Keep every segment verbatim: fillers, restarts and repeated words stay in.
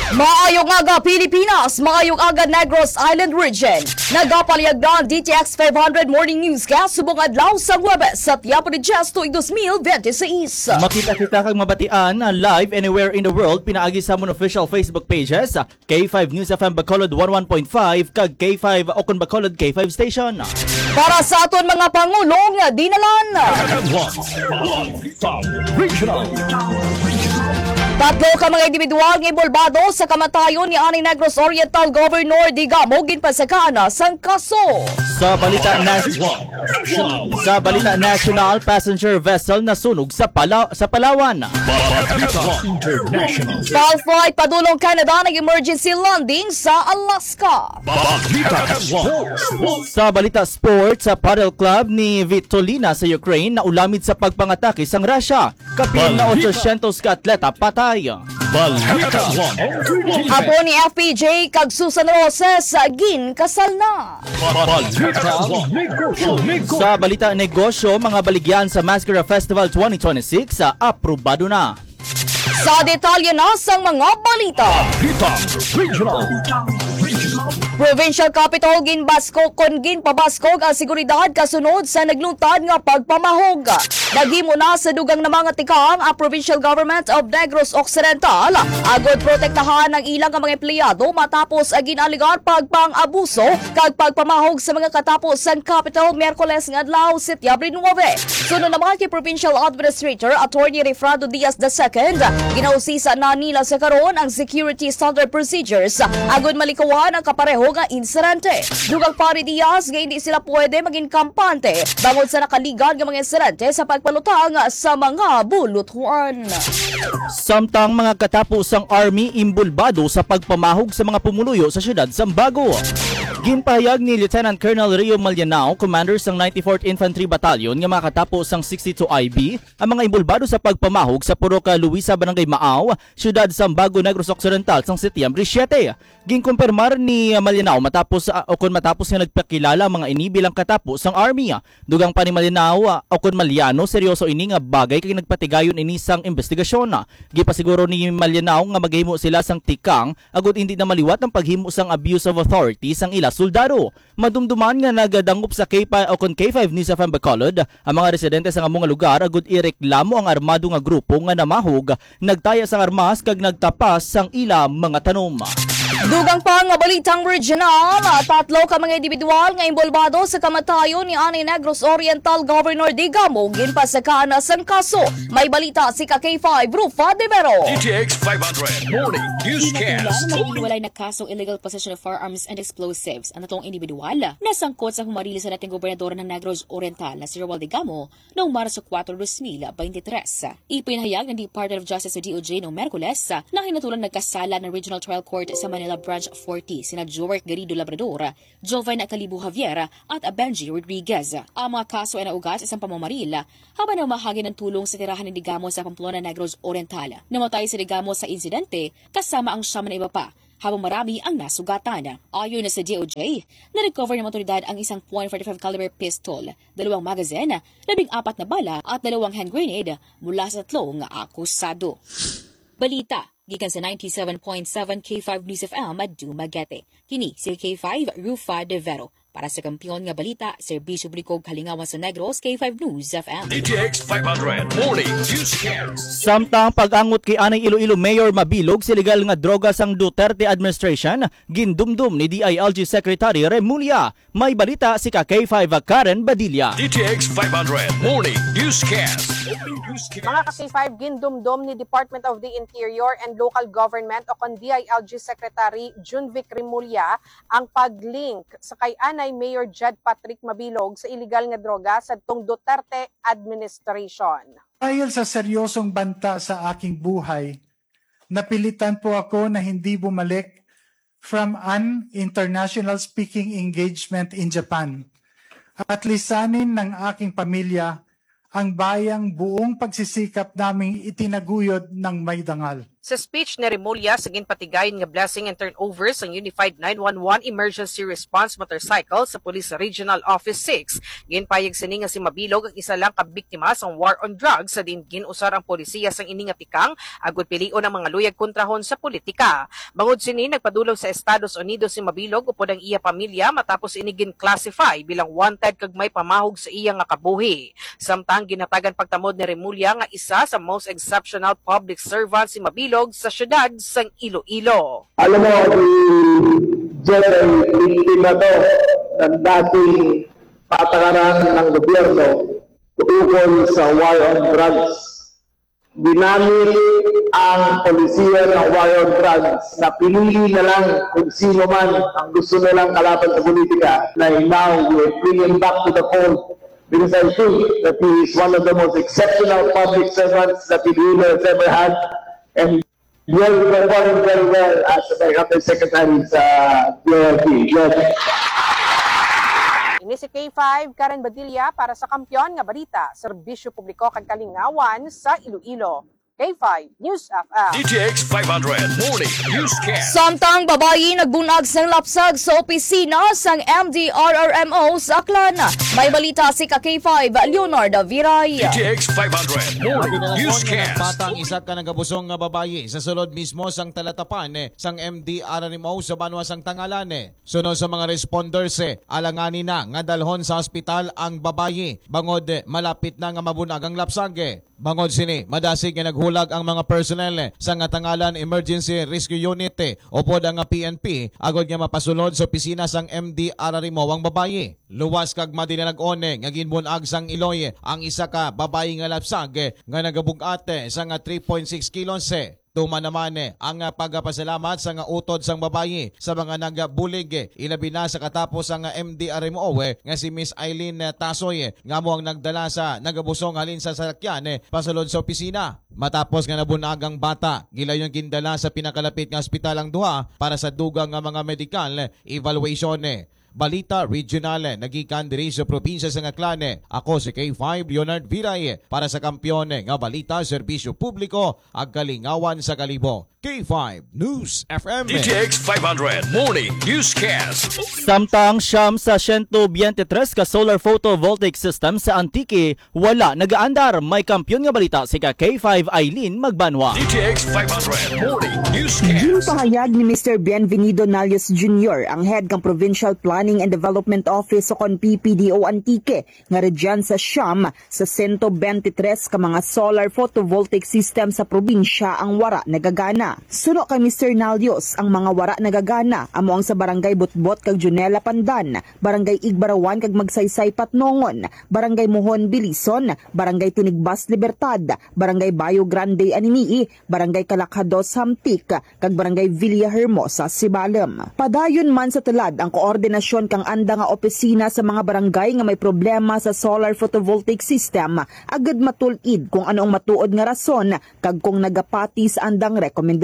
Maayong aga, Pilipinas! Maayong aga, Negros Island Region! Nagapalihag na ang D T X five hundred Morning Newscast subong adlaw sa Huwebes sa Tiapo de Dios tuig dos mil bente seis. Makita kita kag mabatian, ah, live anywhere in the world pinaagi sa amon official Facebook pages, ah, K five News F M Bacolod one one point five kag K five Okon Bacolod K five Station. Para sa aton mga pangulong dinalan. Regional. Tatlo ka mga individual nga inbolbado sa kamatayon ni anay Negros Oriental Governor Digamo ginpasakaan na sang kaso. Sa balita nas-, sa balita national, passenger vessel nasunog sa Pala-, sa Palawan. Balita International. Bal flight padulong Canada nag-emergency landing sa Alaska. Balita Sports. Sa balita sports, sa paddle club ni Vitolina sa Ukraine naulamid sa pagpangatake sang Russia. Kapin na Balita. Otsosyentos ka atleta patay. Balita. Apo ni F P J kag Susan Roses, ginkasal na. Balita. Negosyo. Sa balita negosyo, mga baligyan sa Mascara Festival twenty twenty-six, ah, aprobado na. Sa detalye na sang mga balita. Balita Regional. Provincial Capitol ginbaskog kon ginpabaskog ang seguridad kasunod sa nagluntad nga pagpamahog. Naghimo na sa dugang na mga tikang ang Provincial Government of Negros Occidental agod protektahan ang ilang mga empleyado matapos ang gin-alegar pagpang-abuso kag pagpamahog sa mga katapo sang Capitol Miyerkules nga adlaw, Setyembre nuebe. Suno naman kay Provincial Administrator Attorney Refrando Diaz the second, ginausisa na nila sa karon ang security standard procedures agud malikawan ang kapareho nga insidente. Dugang pa ni Diaz nga hindi sila pwede maging kampante bangod sa nakaligad nga mga insidente sa pagpalutang sa mga bulutuan. Samtang mga katapo sang Army imbulbado sa pagpamahog sa mga pumuluyo sa siyudad sang Bago. Ginpahayag ni Lieutenant Colonel Rio Malianao, commander sang ninety-fourth Infantry Battalion, nga makatapo sang sixty-two I B ang mga imbulbado sa pagpamahog sa Purok Luisa, Barangay Maaw, siyudad sang Bago, Negros Occidental, sang Setyembre siete. Ginkumpirmar ni Malianao matapos, ah, o kon matapos nga nagpakilala ang mga ini bilang katapo sang Army. Dugang pa ni Malianao, ah, o kon Maliano, seryoso ini nga bagay kay nagpatigayon ini sang imbestigasyon. Gipasiguro ni Malianao nga maghimo sila sang tikang agud hindi na maliwat ang paghimo sang abuse of authority sang ila soldado. Madumduman nga nagadangop sa K five o kon K five News F M Bacolod ang mga residente sa amo nga lugar agud ireklamo ang armado nga grupo nga namahog, nagtaya sang armas kag nagtapas sang ila mga tanom. Dugang pa nga balitang regional, tatlo ka mga individual nga inbolbado sa kamatayon ni anay Negros Oriental Governor Digamo ginpasakaan na sang kaso. May balita si ka K five Rufa de Vero. D T X five hundred Morning Newscast. Kinatunglan, may hiwalay na kasong illegal possession of firearms and explosives ang tatlong individual na sangkot sa humarili sa dating gobernador ng Negros Oriental na si Romuald Digamo noong Marso kuwatro, dos mil beintitrés. Ipinahayag ng Department of Justice o D O J noong Miyerkules na hinatulan nagkasala ng Regional Trial Court sa Manila Branch forty sina Joerk Garrido Labrador, Joven Calibo Javier, at Benji Rodriguez. Ang mga kaso ay naugat sa isang pamamaril habang namahagi ng tulong sa tirahan ni Digamo sa Pamplona, Negros Oriental. Namatay si Digamo sa insidente kasama ang siyam na iba pa, habang marami ang nasugatan. Ayon na sa D O J, na-recover ng mga otoridad ang isang point forty-five caliber pistol, dalawang magazine, labing apat na bala at dalawang hand grenade mula sa tatlong akusado. Balita gikan sa ninety-seven point seven K five News F M Dumaguete. Kini si K five Rufa de Vero. Para sa Kampiyon nga Balita, Serbisyo Publiko ug Kalingawan sa Negros, K five News F M. D T X five hundred Morning Newscast. Samtang pag-angot kay anay Iloilo Mayor mabilog sa illegal nga droga sang Duterte administration, gindumdum ni D I L G Secretary Remulla. May balita si ka K five Karen Badilla. D T X five hundred Morning Newscast. Mga ka K five, gindumdom ni Department of the Interior and Local Government o kon D I L G Secretary Junvic Remulla ang pag-link sa kay anay Mayor Jed Patrick Mabilog sa iligal nga droga sadtong Duterte administration. Dahil sa seryosong banta sa aking buhay, napilitan po ako na hindi bumalik from an international speaking engagement in Japan at lisanin ng aking pamilya ang bayang buong pagsisikap naming itinaguyod ng may dangal. Sa speech ni Remulla sa ginpatigayon nga blessing and turnover sang Unified nine one one Emergency Response Motorcycle sa Police Regional Office six, ginpayag sini nga si Mabilog ang isa lang ka biktima sang war on drugs sa diin gin-usar ang polisiya sang ini nga tikang agud pilion ang mga luyag kontrahon sa politika. Bangod sini, nagpadulong sa Estados Unidos si Mabilog upod ang iya pamilya matapos ini gin-classify bilang wanted kag may pamahog sa iya nga kabuhi. Samtang ginhatagan pagtamod ni Remulla nga isa sa most exceptional public servant si Mabilog sa siyudad sang Iloilo. Alam mo, si Jeff ay biktima to ng dating patakaran ng gobyerno ukol sa war on drugs. Ginamit ang polisiya ng war on drugs na pinili na lang kung sino man ang gusto nilang kalaban sa politika. Like now, we're bringing back to the fold because I think that he is one of the most exceptional public servants that Iloilo has ever had. And he has performed very well as a undersecretary sa P R P. Yes. Ini si K five, Karen Badilla para sa Kampiyon nga Balita, Serbisyo Publiko kag Kalingawan sa Iloilo. K five News F M. D T X five hundred Morning Newscast. Samtang babayi nagbunag sang lapsag sa opisina sang M D R R M O sa Aklan. May balita si ka K five, Leonardo Viray. D T X five hundred Morning Newscast. Bata ang isa ka nagabusong nga babayi sa sulod mismo sang talatapan sang M D R R M O sa banwa sang Tangalan. Suno sa mga responders, eh, alangani na nga dalhon sa ospital ang babayi bangod, eh, malapit na nga mabunag ang lapsag. Bangod sini, madasig nga naghulag ang mga personnel, eh, sa nga Tangalan Emergency Rescue Unit, eh, upod ang, ah, P N P agod nga mapasulod sa opisina sang M D R R M O ang babayi. Luwas kag madinalag-on, eh, nga ginbunag sang iloy, eh, ang isa ka babayi nga lapsag, eh, nga nagabug-at, eh, sa nga three point six kilos, eh. Tuman naman, eh, ang, ah, pagpasalamat sa nga utod sang babayi sa mga nagabulig, eh, ilabi na sa katapos ang, ah, M D R M O, eh, nga si Miss Eileen, eh, Tasoy, eh, nga amo ang nagdala sa nagabusong halin sa salakyan, eh, pasulod sa opisina. Matapos nga nabunag ang bata, gilayon gindala sa pinakalapit nga ospital ang duha para sa dugang nga mga medikal, eh, evaluation, eh. Balita Regional, eh, nagikan diri sa probinsya sa Aklan, eh. Ako si K five Leonard Viray, eh, para sa Kampiyon, eh, nga Balita, Serbisyo Publiko, ag Kalingawan sa Kalibo. K five News F M. D T X five hundred Morning Newscast. Samtang siyam sa siyento biyente tres ka solar photovoltaic system sa Antique wala nagaandar, may kampiyon nga balita si ka K five Eileen Magbanwa. D T X five hundred Morning Newscast. Ginpahayag ni Mister Bienvenido Nalios Junior, ang head kang Provincial Planning and Development Office o kon P P D O Antique, nga rugyan sa siyam sa sento bente tres ka mga solar photovoltaic system sa probinsya ang wara nagagana. Suno kay Mister Nalios, ang mga wara nagagana amo ang sa Barangay Butbot kag Junela Pandan, Barangay Igbarawan kag Magsaysay Patnongon, Barangay Mohon Bilison, Barangay Tinigbas Libertad, Barangay Bayo Grande Anini-y, Barangay Calacado Samtic, kag Barangay Villahermosa Sibalom. Padayon man sa tulad ang koordinasyon kang anda nga opisina sa mga barangay nga may problema sa solar photovoltaic system, agud matul-id kung ano ang matuod nga rason kag kung nagapati sa andang rekomendasyon.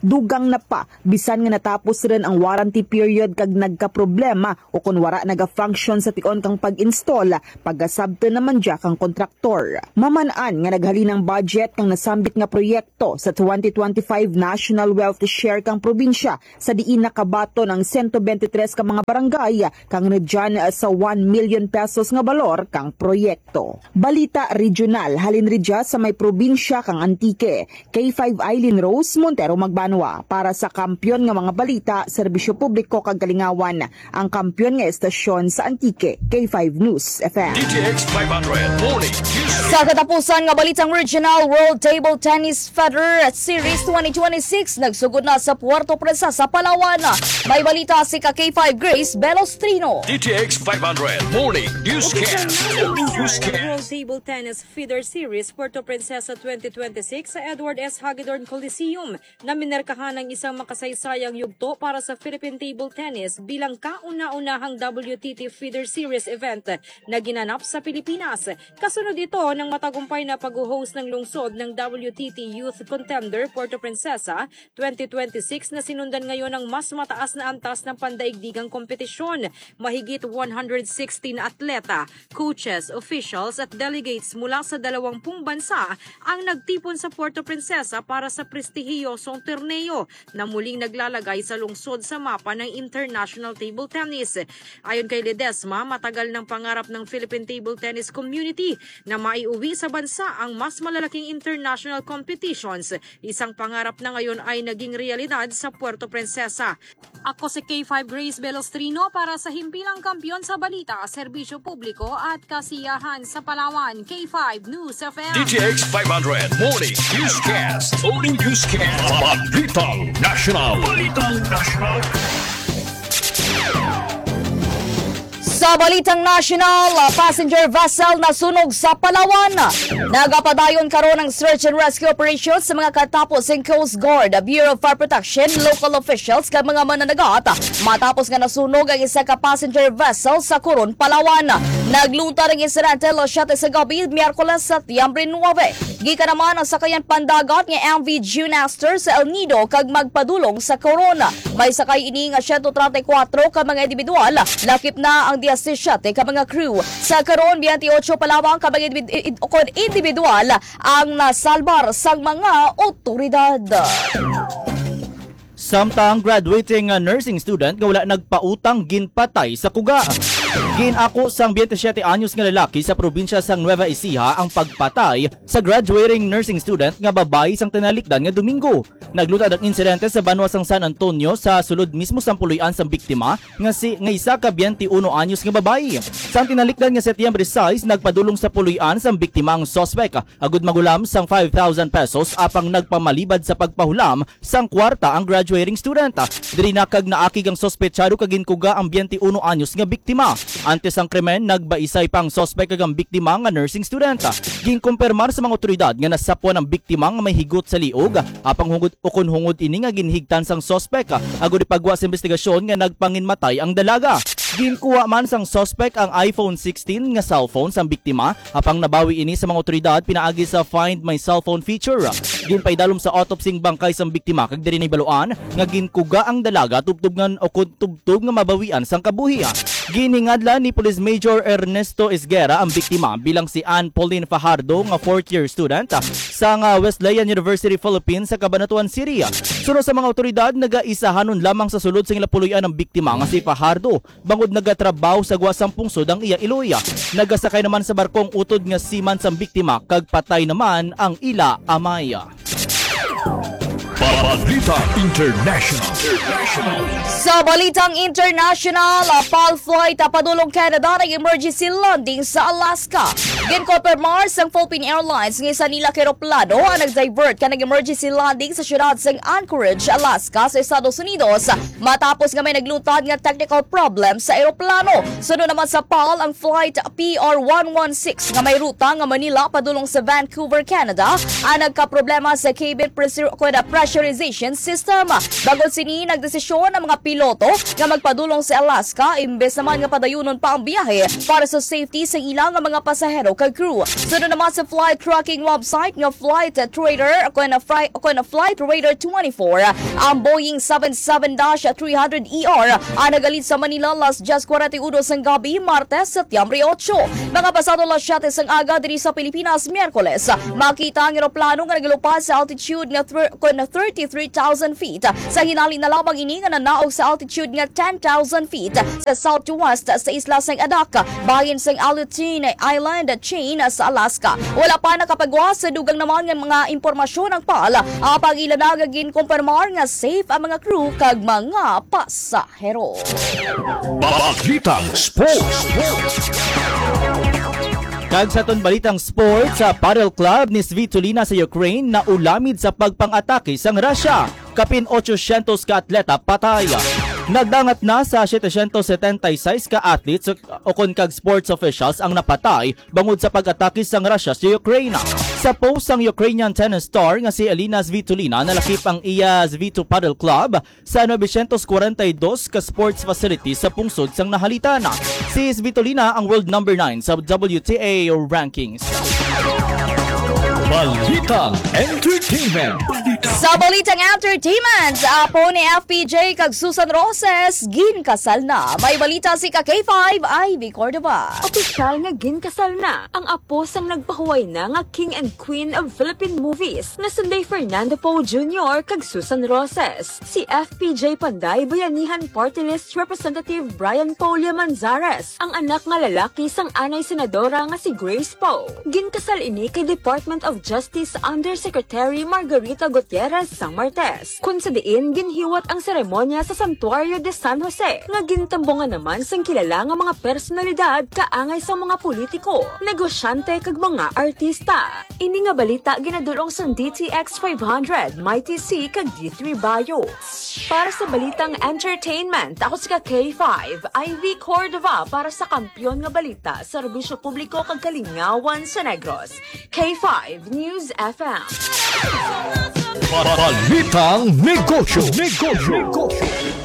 Dugang na pa, bisan nga natapos run ang warranty period kag nagkaproblema o kon wara naga-function sa tion kang pag-install, pagasabton naman dya kang kontraktor. Maman-an nga naghalin ang budget kang nasambit nga proyekto sa twenty twenty-five National Wealth Share kang probinsya, sa diin nakabaton ang sento bente tres ka mga barangay kang rugyan sa one million pesos nga balor kang proyekto. Balita regional halin rugya sa may probinsya kang Antique. K five Eileen Rose Montero Magbanwa para sa Kampiyon nga mga balita, serbisyo publiko kag kalingawan, ang kampiyon nga estasyon sa Antique, K five News F M. D T X five hundred Morning News. Sa katapusan nga balitang regional, World Table Tennis Federer Series twenty twenty-six nagsugod na sa Puerto Princesa, Palawan. May balita si ka K five Grace Belostrino. D T X five hundred Morning Newscast. World Table Tennis Feeder Series Puerto Princesa twenty twenty-six sa Edward S. Hagedorn Coliseum na minerkahan ang isang makasaysayang yugto para sa Philippine table tennis bilang kauna-unahang W T T Feeder Series event na ginanap sa Pilipinas. Kasunod ito ng matagumpay na pag-host ng lungsod ng W T T Youth Contender Puerto Princesa twenty twenty-six na sinundan ngayon ng mas mataas na antas ng pandaigdigang kompetisyon. Mahigit one hundred sixteen atleta, coaches, officials at delegates mula sa dalawampung bansa ang nagtipon sa Puerto Princesa para sa prestigious prestihiyosong torneo na muling naglalagay sa lungsod sa mapa ng international table tennis. Ayon kay Ledesma, matagal ng pangarap ng Philippine table tennis community na maiuwi sa bansa ang mas malalaking international competitions. Isang pangarap na ngayon ay naging realidad sa Puerto Princesa. Ako si K five Grace Belostrino para sa Himpilang Kampiyon sa Balita, Serbisyo Publiko at Kasiyahan sa Palawan, K five News F M. D T X five hundred Morning Newscast. Morning Newscast. Balitang National. Balitang National. Sa balitang national, ah, passenger vessel nasunog sa Palawan. Nagapadayon karon ang search and rescue operation sa mga katapos sing Coast Guard, Bureau of Fire Protection, local officials kag mga mananagat matapos nga nasunog ang isa ka passenger vessel sa Coron, Palawan. Naglutad ang insidente alas siyete sa gabi, Miyerkules, Setyembre nuebe. Gikan naman ang sakayan pandagat nga M V June Aster sa El Nido kag magpadulong sa Coron. May sakay ini nga siyento treinta y cuatro ka mga individual, lakip na ang diyesisiyete ka mga crew. Sa karon, biyente y ocho pa lamang ka mga individ-, id-, kon individual ang nasalbar sang mga otoridad. Samtang graduating, uh, nursing student nga wala nagpautang ginpatay sa kuga. Gin-ako sang biyente siyete anyos nga lalaki sa probinsya sang Nueva Ecija ang pagpatay sa graduating nursing student nga babayi sang tinalikdan nga Domingo. Naglutad ang insidente sa banwa sang San Antonio sa sulod mismo sang puloy-an sang biktima nga si, nga isa ka biyente uno anyos nga babayi. Sang tinalikdan nga Setyembre sais, nagpadulong sa puloy-an sang biktima ang suspek agud mangulam sang five thousand pesos apang nagpamalibad sa pagpahulam sang kwarta ang graduating student. Diri na kag naakig ang suspetsado kag ginkuga ang biyente uno anyos nga biktima. Antes sang krimen, nagbaisay pa ang suspek kag ang biktima nga nursing student. Ginkumpirmar sa mga otoridad nga nasapwan ang biktima nga may higot sa liog, apang hungod ukon hungod ini nga ginhigtan sang suspek, agud ipagwa sa investigasyon nga nagpanginmatay ang dalaga. Ginkuha man sang suspek ang iPhone sixteen nga cellphone sang biktima, apang nabawi ini sa mga otoridad pinaagi sa Find My Cellphone feature. Ginpaidalom sa autopsy ang bangkay sang biktima kag diri nahibaluan nga ginkuga ang dalaga tubtob nga, o kun tubtob nga mabawian sang kabuhi. Ginhingadlan ni Police Major Ernesto Esguerra ang biktima bilang si Ann Pauline Fajardo nga fourth year student sang, ah, Wesleyan University Philippines sa Cabanatuan City. Suno sa mga otoridad, nagaisahanon lamang sa sulod sa ila puloy-an ang biktima nga si Fajardo bangod nagatrabaho sa gwa sang pungsod ang iya iloy. Nagasakay naman sa barkong utod nga seaman sang biktima kag patay naman ang ila amay. Balita International. Sa balitang international, ah, PAL flight, ah, padulong Canada nag-emergency landing sa Alaska. Ginkonfirmar sang Philippine Airlines nga isa nila ka eroplano ang nag-divert ka nag-emergency landing sa siyudad sang Anchorage, Alaska, sa Estados Unidos, matapos nga may naglutad nga technical problem sa eroplano. Sunod naman sa PAL, ang flight P R one one six nga may ruta nga Manila padulong sa Vancouver, Canada, ang nagkaproblema sa cabin pressur-, kuwan, pressurization system. Bangod sini, nagdesisyon ang mga piloto nga magpadulong sa Alaska, imbes naman nga padayunon pa ang biyahe para sa safety sa ila nga mga pasahero kag crew. Sunod naman sa flight tracking website nga Flight Trader, kuwan, fri-, kuwan, Flight Radar twenty-four, ang Boeing seven seven dash three hundred E R ang nagalit sa Manila alas diyes kwarenta y uno sang gabi, Martes, Setyembre ocho. Mga pasado alas siyete sang aga diri sa Pilipinas, Miyerkules, makita ang eroplano nga nagalupad sa altitude nga thir-, kon thirty-three thousand feet. Sa hinali na lamang ini nga nanaog sa altitude nga ten thousand feet sa southwest sa isla sang Adak, bahin sang Aleutian Island chain sa Alaska. Wala pa nakapagwa sa dugang naman nga mga impormasyon ang PAL, apang ila na nga ginkumpirmar nga safe ang mga crew kag mga pasahero. Balitang Sports. Kag sa aton balitang sports, sa paddle club ni Svitolina sa Ukraine naulamid sa pagpang-atake sang Russia. Kapin otsosyentos ka atleta patay. Nagdangat na sa setecientos setenta y seis ka athletes o kon kag sports officials ang napatay bangod sa pag-atake sang Russia sa Ukraine. Sa post sang Ukrainian tennis star nga si Elina Svitolina, nalakip ang iya Svito Paddle Club sa novecientos kwarenta y dos ka sports facility sa pungsod sang Nahalitan. Si Svitolina ang world number nine sa W T A rankings. Balitang Entertainment. Balitang Sa balitang entertainment, apo ni F P J kag Susan Roses, ginkasal na. May balita si ka K five, Ivy Cordova. Opisyal nga ginkasal na ang apo sang nagpahuway na nga King and Queen of Philippine Movies nga sanday Fernando Poe Junior kag Susan Roses. Si F P J Panday, Bayanihan Party List Representative Brian Paul Manzares, ang anak nga lalaki sang anay senadora nga si Grace Poe. Ginkasal ini kay Department of Justice Undersecretary Margarita Gutierrez sang Martes, kun sa diin ginhiwat ang seremonya sa Santuario de San Jose, nga gintambungan naman sang kilala nga mga personalidad kaangay sa mga politiko, negosyante kag mga artista. Ini nga balita ginadul-ong sang D T X five hundred, Mighty C kag D three Bio. Para sa balitang entertainment, ako si ka K five, Ivy Cordova para sa Kampiyon nga Balita, Serbisyo Publiko kag Kalingawan sa Negros. K five News F M. Balitang negosyo. Negosyo.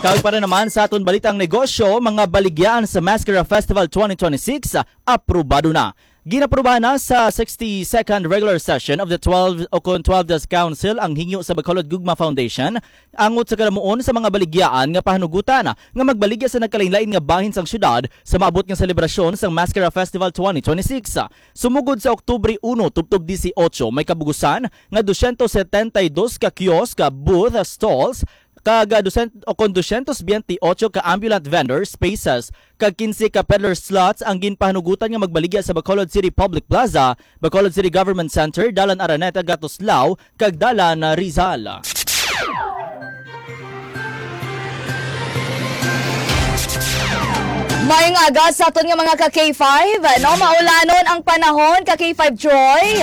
Kag para naman sa aton balitang negosyo, mga baligyaan sa Mascara Festival twenty twenty-six, aprobado na. Ginaprobahan na sa sixty-second regular session of the twelve o kon twelve Council ang hingyo sa Bacolod Gugma Foundation angot sa kalamuon sa mga baligyaan nga pahanugutan nga magbaligya sa nagkalainlain nga bahin sang syudad sa maabot nga selebrasyon sang Mascara Festival twenty twenty-six. Sumugod sa Oktubre uno tubtob dieciocho, may kabugusan nga dosyentos setenta y dos ka kiosk, booth, stalls, kag, ah, dosyentos o kon dosyentos biyente y ocho ka ambulant vendor spaces kag quince ka peddler slots ang ginpahanugutan nga magbaligya sa Bacolod City Public Plaza, Bacolod City Government Center, Dalan Araneta, Gatuslao, kag Dalan, ah, Rizal. Maayong aga sa aton nga mga ka K five, no? Maulanon ang panahon, ka K five Troy.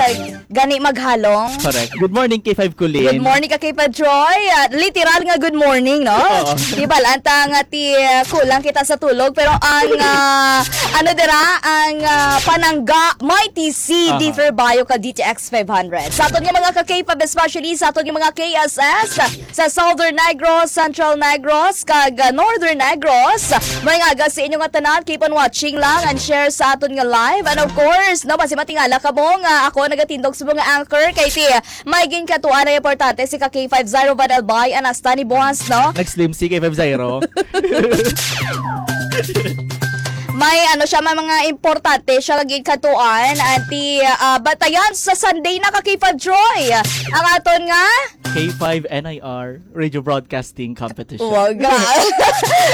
Gani maghalong. Correct. Good morning, K five Kulin. Good morning, ka K five Troy. Ah, literal nga good morning, no? Oo. Di ba, lanta nga ti, ah, kulang kita sa tulog, pero ang, ah, ano dira, ang, ah, panangga, may T C, Aha. Differ Bayo ka D T X five hundred. Sa aton nga mga ka K five, especially sa aton nga mga K S S, sa Southern Negros, Central Negros, kag, ah, Northern Negros, may nga aga sa inyo nga tanan, keep on watching lang and share sa aton nga live. And of course, no, basi matingala kamo nga ako nagatindog sa mga anchor kay ti may ginkatuan na importante si ka K five zero Van Albay, anak sa ni Boss, no? Nag-slim si K five zero. May ano siya, may mga importante siya lagi katuan. Anti, ah, batayan sa Sunday na ka K five Troy. Ang aton nga K five N I R Radio Broadcasting Competition. Wow, gra-,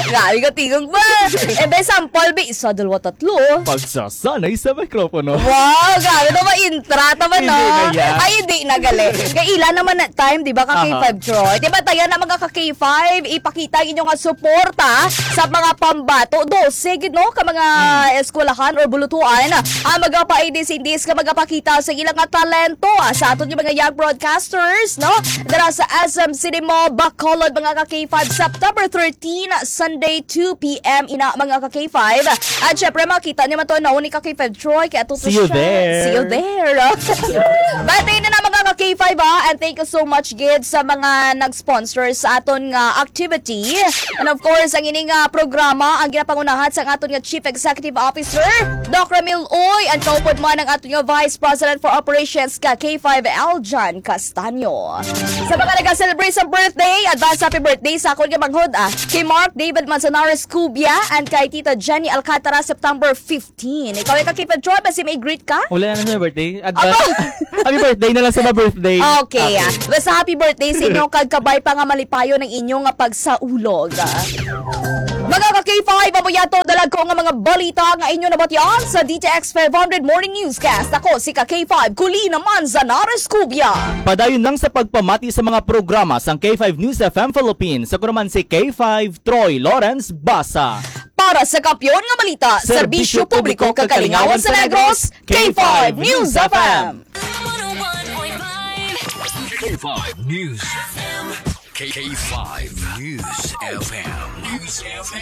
grabe ka tingog ba? Eh, be, sample, be, isa, dalawa, tatlo. Pagsasanay sa mikropono. Wow, grabe to, ma-intra, tama na. Hindi na yan. Ay, hindi na, gali. Kaya ila naman na time, di ba, ka Aha. K five Troy? Di ba, tayo na mga ka K five, ipakita ang inyong suporta sa mga pambato. Dose, gid, no, ka mga Mm. eskwelahan or bulutuan ang magapaidis-indis nga magapakita sa ilang nga talento, ah, sa aton nga mga young broadcasters, no? Dira sa S M Cinema, Bacolod, mga ka K five, September thirteen, Sunday, two P M, ina, mga ka K five. At syempre, makita niyo man to, no, ni ka K five Troy, kay ato to See you siya. There. See you there. Bati na na, mga ka K five, ha? And thank you so much, gid, sa mga nag-sponsor sa aton nga activity. And of course, ang ini nga programa ang ginapangunahan sa aton nga Chief Executive Officer, Doc Ramil Uy, ang kaupod man ang aton nga Vice President for Operations ka K five, Aljan Castaño. Sa mga nag-celebrate sa birthday, advance happy birthday sa akon nga manghod, ah, kay Mark David Manzanares Cubia and kay Tita Jenny Alcantara, September fifteen. Ikaw, ikaw, K five Troy, basi may greet ka? Wala na sa birthday. Advance. Aba! Happy birthday na lang sa mga birthday. Okay, Okay. ah. Basta happy birthday sa inyo, kag kabay pa nga malipayon ang inyo nga pagsaulog. Mga ka K five, amo yato dalagko nga mga balita nga inyo nabatian sa D T X five hundred Morning Newscast. Ako si ka K five, Kulina Manzanares Cubia. Padayon lang sa pagpamati sa mga programa sang K five News F M Philippines. Ako naman si K five Troy Lawrence Basa. Para sa Kampiyon nga Balita, Serbisyo Publiko kag Kalingawan sa Negros, K five News F M. K five News F M. K five News F M. News F M.